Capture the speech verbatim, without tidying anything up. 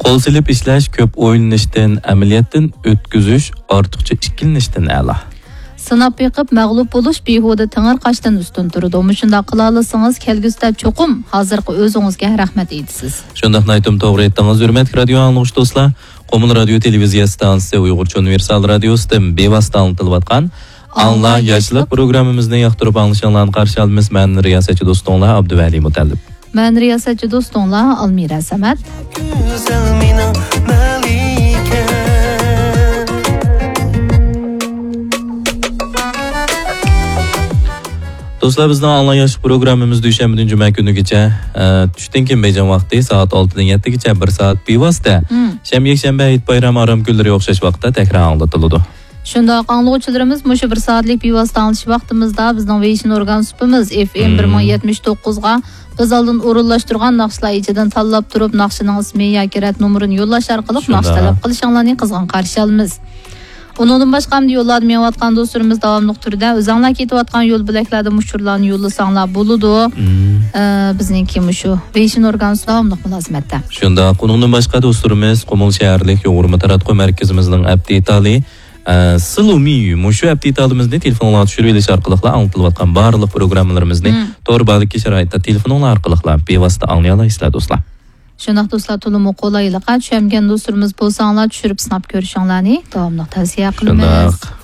قول سېلىپ ئىشلەش كۆپ ئويلىنىشتىن، ئەمەلىيەتتىن ئۆتكۈزۈش ئارتۇقچە ئىككىلىنىشتىن ئەلا. سىناپ بېقىپ مەغلۇپ بولۇش بىھۇدە تېڭىرقاشتىن ئۈستۈن تۇرىدۇ. مۇشۇنداق قىلالىسىڭىز، كەلگۈسىدە چوقۇم ھازىرقى ئۆزىڭىزگە رەھمەت ئېيتىسىز. شۇنداق نايتىم توغرا ئېيتتىڭىز، ھۆرمەتلىك رادىيو ئاڭلىغۇچى دوستلار. قۇمۇل رادىيو تېلېۋىزىيە ئىستانسىسى ئۇيغۇرچە ئۇنىۋېرسال رادىيوسىدىن بىۋاسىتە ئاڭلىتىلىۋاتقان ئاڭلا ياشلىق پروگراممىمىزنى ياقتۇرۇپ ئاڭلىشىڭلارنى قارشى ئالىمىز. مەن رىياسەتچى دوستۇڭلار ئابدۇۋەلى مۇتەللىپ. مەن رىياسەتچى دوستۇڭلار ئالمىرە سەمەت. گۈزەل مېنىڭ مەلىكەم. دوستلار، بىزنىڭ ئاڭلا ياشلىق پروگراممىمىز دۈشەنبىدىن جۈمە كۈنىگىچە، ئە، چۈشتىن كېيىن بېيجىڭ ۋاقتى سائەت ئالتىدىن يەتتىگىچە بىر سائەت بىۋاسىتە، مم، شەنبە، يەكشەنبە، ھېيت بايرام ئارام كۈنلىرى ئوخشاش ۋاقىتتا تەكرار ئاڭلىتىلىدۇ. شۇنداق، ئاڭلىغۇچىلىرىمىز مۇشۇ بىر سائەتلىك بىۋاسىتە ئاڭلىتىش ۋاقتىمىزدا بىزنىڭ ۋېيشىن ئورگان سۇپىمىز ئېف ئېم، مم، بىر مىڭ يەتمىش توققۇزغا بىز ئالدىن ئورۇنلاشتۇرغان ناخشىلار ئىچىدىن تاللاپ تۇرۇپ، ناخشىنىڭ ئىسمى ياكى رەت نومۇرىنى يوللاش ئارقىلىق ناخشا، شۇنداق، تەلەپ قىلىشىڭلارنى قىزغىن قارشى ئالىمىز. ئۇنىڭدىن باشقا، ئەمدى يوللاردا مېڭىۋاتقان دوستلىرىمىز داۋاملىق تۈردە ئۆزۈڭلار كېتىۋاتقان يول بۆلەكلەردىن ئۇچۇرلارنى يوللىساڭلار بولىدۇ. مم. ئە، بىزنىڭكى مۇشۇ ۋېيشىن ئورگانىسى داۋاملىق مۇلازىمەتتە. شۇنداق، ئۇنىڭدىن باشقا دوستلىرىمىز قۇمۇل شەھەرلىك يۇغۇرما تاراتقۇ مەركىزىمىزنىڭ ئەپ دېتالى، ئە، سىلۇمىيۈ، مۇشۇ ئەپ دېتالىمىزنى تېلېفونغا چۈشۈرۈۋېلىش ئارقىلىقلا ئاڭلىتىلىۋاتقان بارلىق پروگراممىلىرىمىزنى، مم، تور باغدىكى شارائىتتا تېلېفونۇڭلار ئارقىلىقلا بىۋاسىتە ئاڭلىيالايسىلەر دوستلار. شۇنداق دوستلار، تولىمۇ قولايلىققا چۈشەنمىگەن دوستلىرىمىز بولساڭلار، چۈشۈرۈپ سىناپ كۆرۈشۈڭلارنى داۋاملىق تەۋسىيە قىلىمىز. شۇنداق.